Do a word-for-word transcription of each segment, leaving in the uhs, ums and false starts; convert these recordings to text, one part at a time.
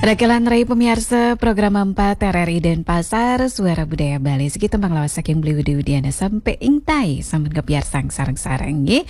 Rakelan rai pemiarsa program empat R R I Denpasar, Suara Budaya Bali. Siki tembang lawas saking Beli Widi Widiana sampai ingtai, sambut ngepiarsang sareng-sareng, nggih.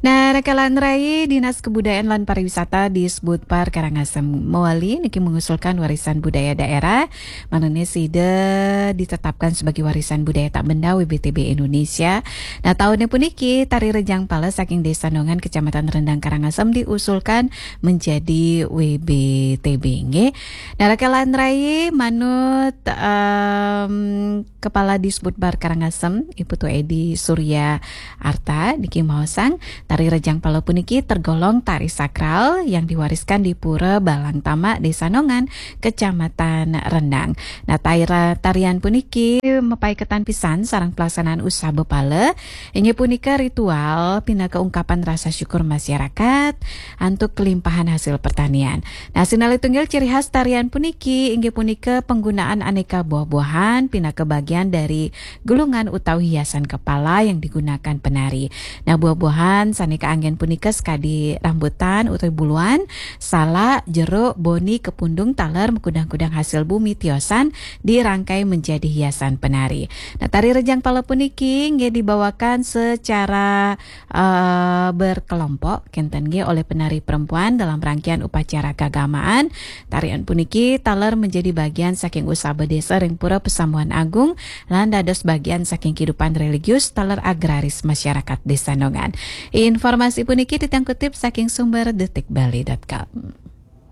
Nah, rakelan rai, Dinas Kebudayaan lan Pariwisata Disbudpar Karangasem mewali niki mengusulkan warisan budaya daerah, manane sida ditetapkan sebagai warisan budaya tak benda W B T B Indonesia. Nah, tahunnya puniki, tari Rejang Pala saking Desa Nongan, Kecamatan Rendang, Karangasem diusulkan menjadi W B T B, nggih. Nah, rakelan rai, manut, em, Kepala Disbudpar Karangasem, Ibu Tu Edi Surya Arta, niki maosang, tari Rejang Pala puniki tergolong tari sakral yang diwariskan di Pura Balang Tama, Desa Nongan, Kecamatan Rendang. Nah, taira-, tarian puniki mapaiketan pisan sareng pelaksanaan usaba pala, inggih punika ritual pinaka ungkapan rasa syukur masyarakat antuk kelimpahan hasil pertanian. Nah, sinalih tunggil ciri khas tarian puniki inggih punika penggunaan aneka buah-buahan pinaka bagian dari gulungan utawi hiasan kepala yang digunakan penari. Nah, buah-buahan sane kaanggen punika sekadi rambutan utawi buluan, salak, jeruk, boni, kepundung, taler, makudang-kudang hasil bumi, tiosan dirangkai menjadi hiasan penari. Nah, tari Rejang Pala puniki nggih dibawakan secara, eh, berkelompok, kenten nggih, oleh penari perempuan dalam rangkaian upacara keagamaan. Tarian puniki taler menjadi bagian saking usaba desa ring Pura Pesambuhan Agung lan dados bagian saking kehidupan religius taler agraris masyarakat Desa Nongan. Informasi puniki titiang kutip saking sumber detik bali dot com.